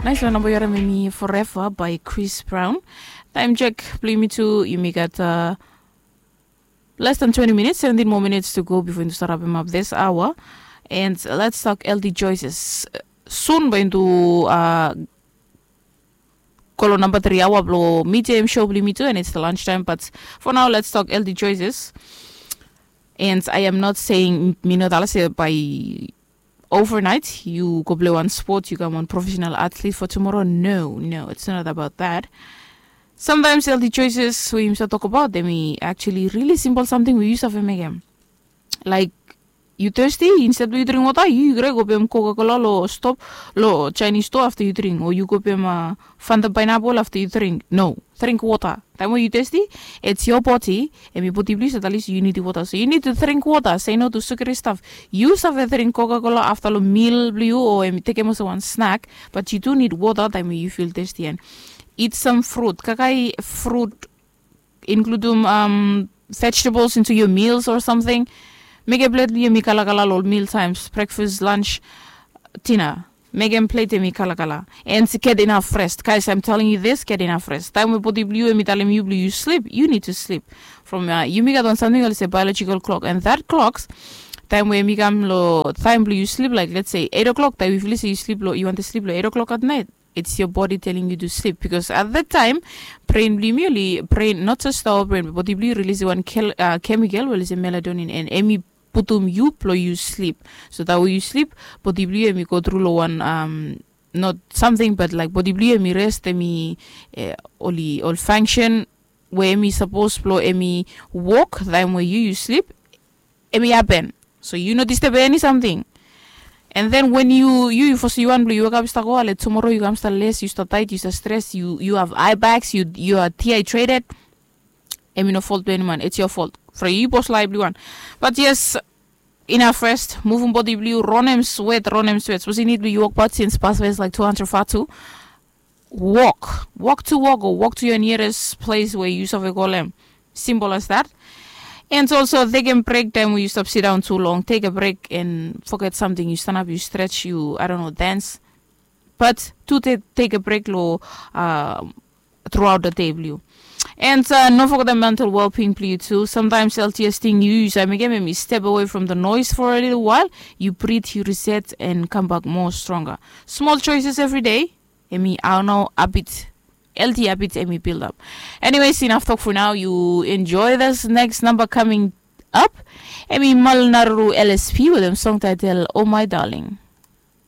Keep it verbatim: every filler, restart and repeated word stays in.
Nice one, namba yu harim em i Forever by Chris Brown. Taem check blong yumi tu, yumi gat uh, less than twenty minutes, seventeen more minutes to go before yumi start wrapping up this hour. And let's talk L D choices. Soon bae yumi tu uh, go long namba three hour blong mid A M show blong yumi tu, and it's the lunch time. But for now, let's talk L D choices. And I am not saying mi no talem se by overnight yu go play wan sport, yu kam wan professional athlete for tomorrow. No, no, it's not about that. Sometimes L D choices we yumi save talk about them, i actually really simple something we yu save mekem. Like, yu thirsty, instead blong yu dring wota, yu krai go pem Coca-Cola lo stop lo Chinese store after yu dring, o yu go pem uh, Fanta pineapple after yu dring. No, drink wota. Taem we yu thirsty, it's your body, em i bodi blong yu save talem se yu nid wota. So you need to drink wota, say no to sugary stuff. Yu save dring Coca-Cola after lo meal blong yu, o em i tekem olsem wan snack, but yu tu nid wota taem we yu feel thirsty. And eat some fruit, kaikai fruit, includum um, vegetables into your meals or something. Mekem plet blong yu em i kalakala lo meal times, breakfast, lunch, dinner. Mekem plet em i kalakala. And get enough rest. Guys, I'm telling you this, get enough rest. Taem we bodi blong yu em i talem yu blong yu sleep, you need to sleep. From uh, yumi gat wan samting olsem biological clock, and that clocks, taem we em i kam lo taem blong yu sleep, like, let's say, eight o'clock, taem we feel se yu sleep lo, yu wantem sleep lo eight o'clock at night, it's your body telling you to sleep, because at that time brain blong yumi oli, brain, not just our brain, bodi blong yu release wan kel- uh, chemical we oli se melatonin, and em i putum yu blong yu sleep. So taem we yu sleep, bodi blong yu em i go tru lo wan um, not something, but like, bodi blong yu em i rest, em i eh, oli ol function we em i sapos blong em i wok taem we yu yu sleep, em i happen. So yu no disturb eni samting. And then when yu yu yu fos yu wan blong yu wekap i stap go ale, tomorrow yu kam stap les, yu stap tired, yu stap stress, yu yu have eye bags, yu yu are dehydrated. Em i no fault blong eni man, it's your fault. From yu bos laef blong yu wan. But yes, enough rest, muvum bodi blong yu, ronem swet, ronem swet. Sapos yu nid blong yu wokbaot since past is like two hundred fatu, walk, walk to work o walk to your nearest place we yu save kolem. Simple as that. And also, tekem break taem we yu stap sidaon tu long, take a break and forget samting, yu stanap, yu stretch, yu, I don't know, dance. But tu take a break lo uh, throughout the day blong yu. And uh, no forget the mental well-being blong yu tu. Sometimes L T S ting yu yu save mekem em i step away from the noise for a little while. Yu breathe, yu reset, and come back more stronger. Small choices every day, em i hao nao habit, healthy habit em i build up. Anyways, enough talk for now. You enjoy this next number coming up. Em i Malnaruru L S P with a song title Oh My Darling.